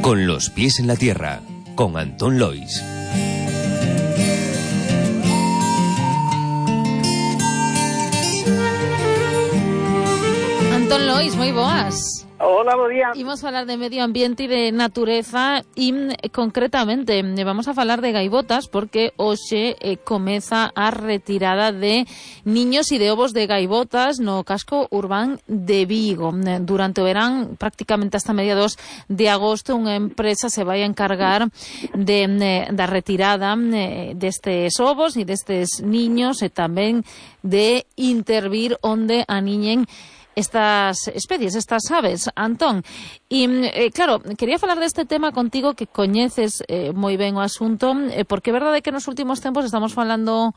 Con los pies en la tierra, con Antón Lois. Antón Lois, moi boas. Hola, bo día. Imos falar de medio ambiente e de natureza e concretamente vamos a falar de gaivotas porque hoxe comeza a retirada de niños e de ovos de gaivotas no casco urbán de Vigo. Durante o verán, prácticamente hasta mediados de agosto, unha empresa se vai a encargar da retirada destes ovos e destes niños e tamén de intervir onde aniñen estas especies, estas aves, Antón. E, claro, quería falar deste tema contigo que coñeces moi ben o asunto, porque é verdade que nos últimos tempos estamos falando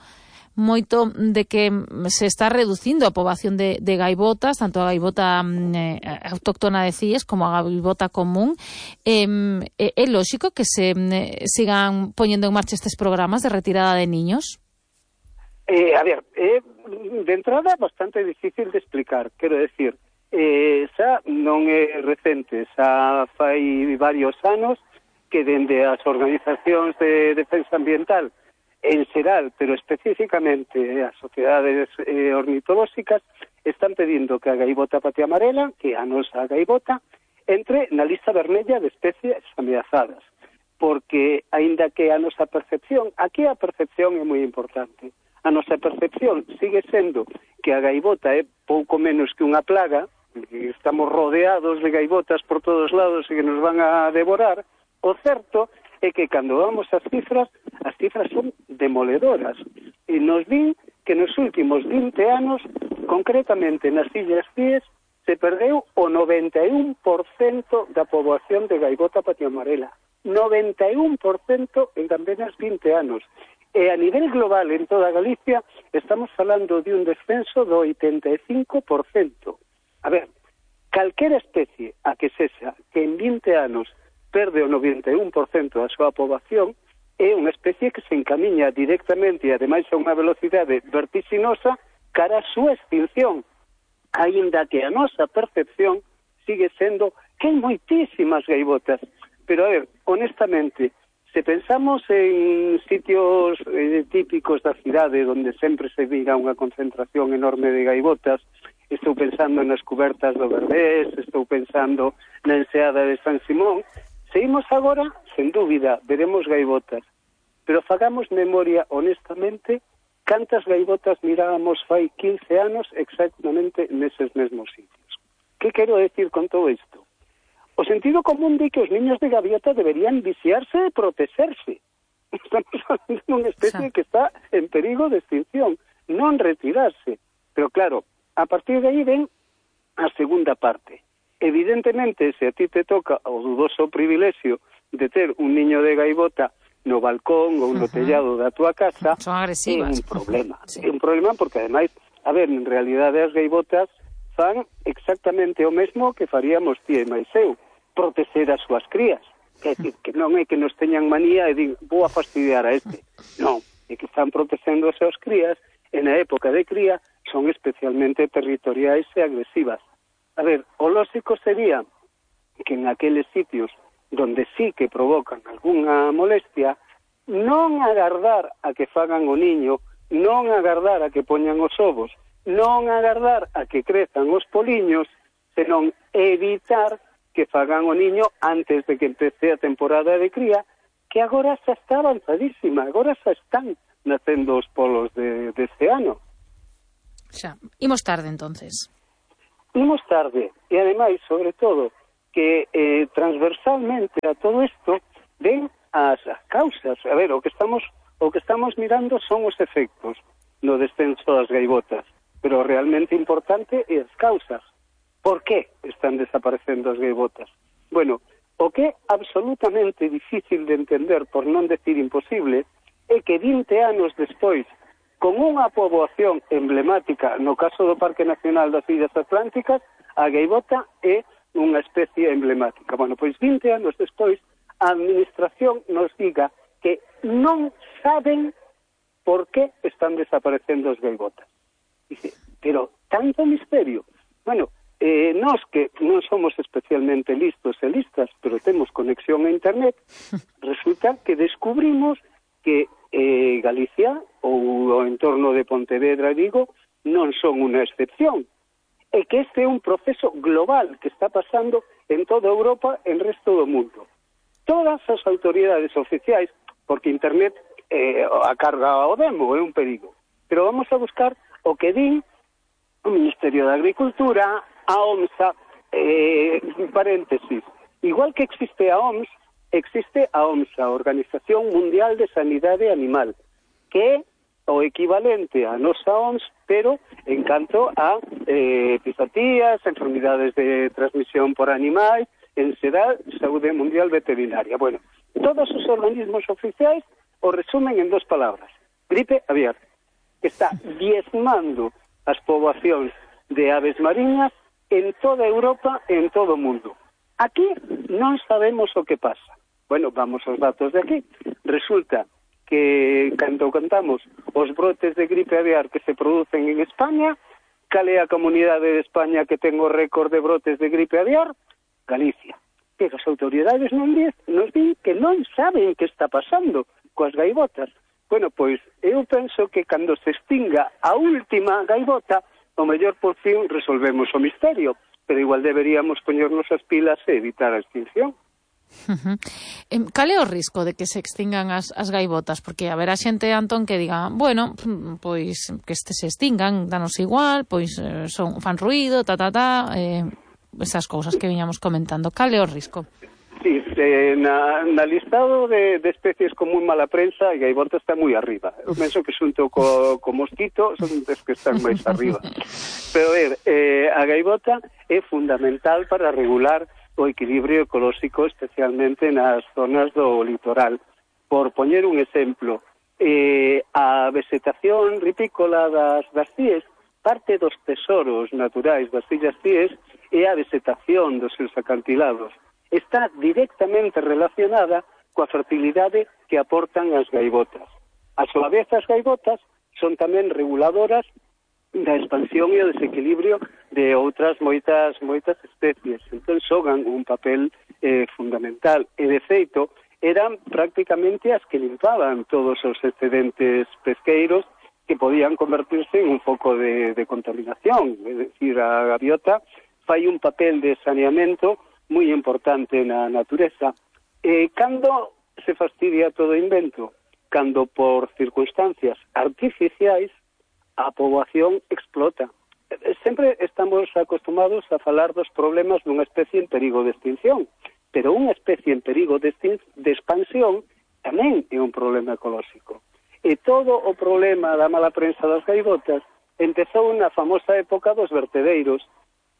moito de que se está reducindo a poboación de gaivotas, tanto a gaivota autóctona de CIES como a gaivota común. É lóxico que se sigan poñendo en marcha estes programas de retirada de niños? A ver, de entrada bastante difícil de explicar, quero decir, xa non é recente, xa fai varios anos que dende as organizacións de defensa ambiental en xeral, pero especificamente as sociedades ornitolóxicas están pedindo que a gaivota patia amarela, que é a nosa gaivota, entre na lista vermella de especies ameazadas, porque aínda que a nosa percepción, aquí a percepción é moi importante. A nosa percepción sigue sendo que a gaivota é pouco menos que unha plaga, que estamos rodeados de gaivotas por todos lados e que nos van a devorar. O certo é que cando vamos ás cifras son demoledoras. E nos din que nos últimos 20 anos, concretamente nas Illas Cíes, se perdeu o 91% da poboación de gaivota patia amarela. 91% en apenas 20 anos. E a nivel global, en toda Galicia, estamos falando de un descenso do 85%. A ver, calquera especie a que sexa que en 20 anos perde o 91% da súa poboación é unha especie que se encamiña directamente e ademais a unha velocidade vertiginosa cara a súa extinción. Aínda que a nosa percepción sigue sendo que hai moitísimas gaivotas. Pero, a ver, honestamente, se pensamos en sitios típicos da cidade onde sempre se viga unha concentración enorme de gaivotas, estou pensando nas cubertas do Berbés, estou pensando na enseada de San Simón, se imos agora, sen dúbida, veremos gaivotas. Pero fagamos memoria honestamente cantas gaivotas mirábamos fai 15 anos exactamente neses mesmos sitios. Que quero decir con todo isto? O sentido común di que os niños de gaviota deberían viciarse e protegerse. Estamos falando de unha especie que está en perigo de extinción, non retirarse. Pero claro, a partir de aí ven a segunda parte. Evidentemente, se a ti te toca o dudoso privilexio de ter un niño de gaivota no balcón ou no tellado da tua casa, son agresivas. É un problema. Sí. É un problema porque, ademais, a ver, en realidade as gaivotas fan exactamente o mesmo que faríamos ti e máis eu, proteger as súas crías. É dicir, que non é que nos teñan manía e din, vou a fastidiar a este. Non, é que están protegendo as súas crías e na época de cría son especialmente territoriais e agresivas. A ver, o lógico sería que en aqueles sitios donde sí que provocan algunha molestia, non agardar a que fagan o niño, non agardar a que poñan os ovos, non agardar a que crezan os poliños, senón evitar que fagan o niño antes de que empece a temporada de cría, que agora xa está avanzadísima, agora xa están nacendo os polos deste ano. Xa, imos tarde entonces. Imos tarde, e ademais, sobre todo, que transversalmente a todo isto ven as causas. A ver, o que estamos mirando son os efectos no descenso das gaivotas, pero realmente importante é as causas. Por que están desaparecendo as gaivotas? Bueno, o que é absolutamente difícil de entender, por non decir imposible, é que 20 anos despois, con unha poboación emblemática, no caso do Parque Nacional das Illas Atlánticas, a gaivota é unha especie emblemática. Bueno, pois 20 anos despois, a administración nos diga que non saben por que están desaparecendo as gaivotas. Dice, pero tanto misterio. Bueno, nós que non somos especialmente listos e listas, pero temos conexión a internet, resulta que descubrimos que Galicia ou o entorno de Pontevedra e Vigo non son unha excepción, e que este é un proceso global que está pasando en toda Europa e en resto do mundo. Todas as autoridades oficiais, porque internet a carga ao demo é un perigo, pero vamos a buscar o que din o Ministerio de Agricultura, a OMSA, paréntesis, igual que existe a OMS, existe a OMSA, Organización Mundial de Sanidade Animal, que é o equivalente a nosa OMS, pero en canto a epizotías, enfermidades de transmisión por animais, en xeral, saúde mundial veterinaria. Bueno, todos os organismos oficiais o resumen en 2 palabras. Gripe aviar, que está diezmando as poboacións de aves mariñas en toda Europa e en todo o mundo. Aquí non sabemos o que pasa. Bueno, vamos aos datos de aquí. Resulta que, cando contamos os brotes de gripe aviar que se producen en España, cal é a comunidade de España que ten o récord de brotes de gripe aviar? Galicia. Pero as autoridades nos din que non saben que está pasando coas gaivotas. Bueno, pois, eu penso que cando se extinga a última gaivota, o mellor por fin resolvemos o misterio, pero igual deberíamos poñernos as pilas e evitar a extinción. Cal é o risco de que se extingan as gaivotas? Porque haberá xente, Antón, que diga, bueno, pois que se extingan, danos igual, pois fan ruído, esas cousas que viñamos comentando. Cal é o risco? Sí, na listado de especies con moi mala prensa, a gaivota está moi arriba. Eu penso que xunto co mosquito son os que están máis arriba. Pero a gaivota é fundamental para regular o equilibrio ecolóxico, especialmente nas zonas do litoral. Por poñer un exemplo, a vegetación ripícola das Cíes, parte dos tesoros naturais das Illas Cíes é a vegetación dos seus acantilados. Está directamente relacionada coa fertilidade que aportan as gaivotas. A súa vez, as gaivotas son tamén reguladoras da expansión e o desequilibrio de outras moitas especies. Entón, xogan un papel fundamental. E, de feito, eran prácticamente as que limpaban todos os excedentes pesqueiros que podían convertirse en un foco de contaminación. É dicir, a gaviota fai un papel de saneamento moi importante na natureza. Cando se fastidia todo o invento? Cando por circunstancias artificiais a poboación explota. Sempre estamos acostumados a falar dos problemas dunha especie en perigo de extinción, pero unha especie en perigo de expansión tamén é un problema ecolóxico. E todo o problema da mala prensa das gaivotas empezou na famosa época dos vertedeiros.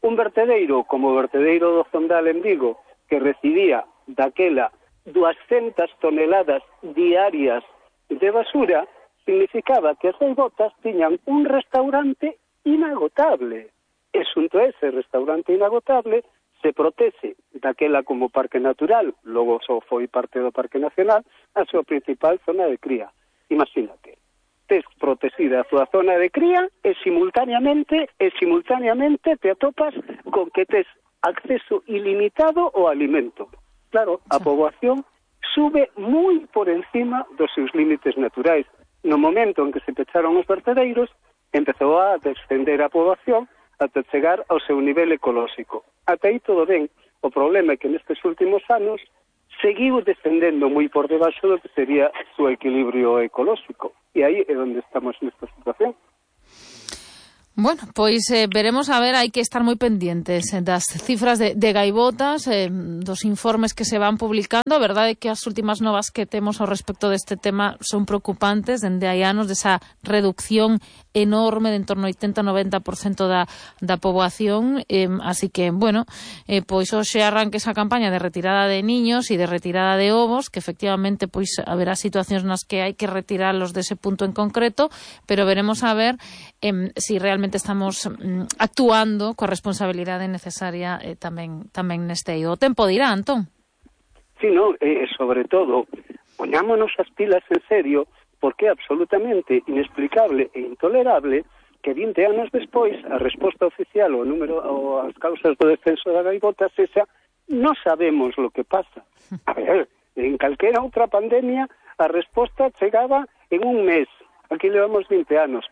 Un vertedeiro como o vertedeiro do Zondal en Vigo, que recibía daquela 200 toneladas diarias de basura, significaba que as gaivotas tiñan un restaurante inagotable. E xunto a ese restaurante inagotable se protexe daquela como parque natural, logo só foi parte do Parque Nacional, a súa principal zona de cría. Imagínate, tes protexida a súa zona de cría e simultaneamente te atopas con que tes acceso ilimitado ao alimento. Claro, a poboación sube moi por encima dos seus límites naturais. No momento en que se pecharon os vertedeiros, empezou a descender a poboación ata chegar ao seu nivel ecolóxico. Ata aí todo ben. O problema é que nestes últimos anos seguiu descendendo moi por debaixo do que sería o seu equilibrio ecolóxico. E aí é onde estamos nesta situación. Bueno, pois veremos a ver, hai que estar moi pendientes das cifras de gaivotas, dos informes que se van publicando. A verdade é que as últimas novas que temos ao respecto deste tema son preocupantes, dende hai anos, desa reducción enorme de en torno ao 80-90% da poboación, así que, bueno, pois hoxe arranque esa campaña de retirada de niños e de retirada de ovos, que efectivamente pois haberá situacións nas que hai que retiralos dese punto en concreto, pero veremos a ver si realmente estamos actuando coa responsabilidade necesaria tamén neste eido. O tempo dirá, Antón. Sí, no, sobre todo, poñámonos as pilas en serio, porque é absolutamente inexplicable e intolerable que 20 anos despois a resposta oficial ao número ou as causas do descenso da gaivota sexa non sabemos lo que pasa. A ver, en calquera outra pandemia a resposta chegaba en un mes. Aquí levamos 20 anos.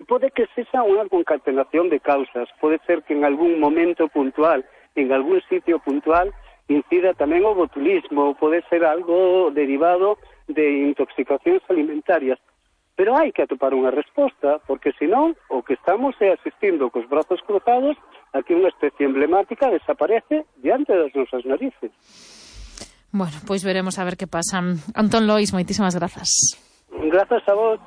Pode que sexa unha concatenación de causas, pode ser que en algún momento puntual, en algún sitio puntual, incida tamén o botulismo, pode ser algo derivado de intoxicacións alimentarias. Pero hai que atopar unha resposta, porque senón o que estamos é asistindo cos brazos cruzados a que unha especie emblemática desaparece diante das nosas narices. Bueno, pois veremos a ver que pasa. Antón Lois, moitísimas grazas. Grazas a vos.